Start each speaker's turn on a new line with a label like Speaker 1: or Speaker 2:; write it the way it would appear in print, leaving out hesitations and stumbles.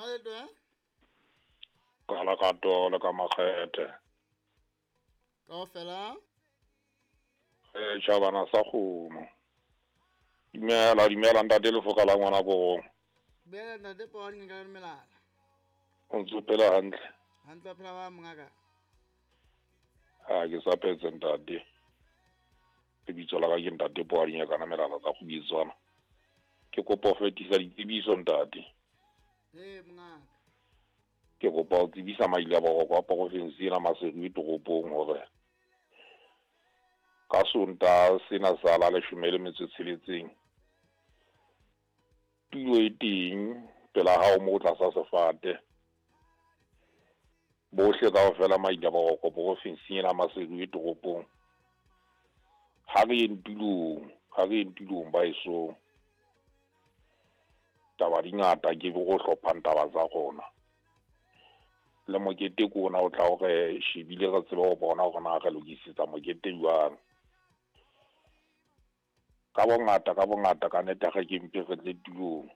Speaker 1: Ha le to eh?
Speaker 2: Ka la ka tole ka makgethe.
Speaker 1: Kaofela.
Speaker 2: Eh tjhabana sa kgomo. Dumela, dumela ntate lefoka la ngwana korong.
Speaker 1: Dumela ntate Poane ka melala.
Speaker 2: O ntse phela hantle.
Speaker 1: Hantle phela ba mongaka.
Speaker 2: Ha ke sa phetse ntate. Lebitso la ka ke ntate Poane kana melala tsa go bitswana. Ke kopa ho fetisa ditsebiso ntate.
Speaker 1: Eh mongaka.
Speaker 2: Ke kopa ho tsebisa maile a boroko a porofensi ena Maseru e toropong hore ka Sontaha sena sa la 16 tulo e teng pela hao mo tlasa sefate. Bohle kaofela maile a boroko porofensing ena Maseru e toropong. Ha re yeng tulong, ha re yeng tulong ba esong. Taba di ngata ke go hlophang taba tsa rona. Le mokete ke ona o tla hore shebile re tsebe ho bona hore na re lokisetsa mokete jwang. Ka bongata, ka bongata ka nnete ha re ke mpe re tle tulong.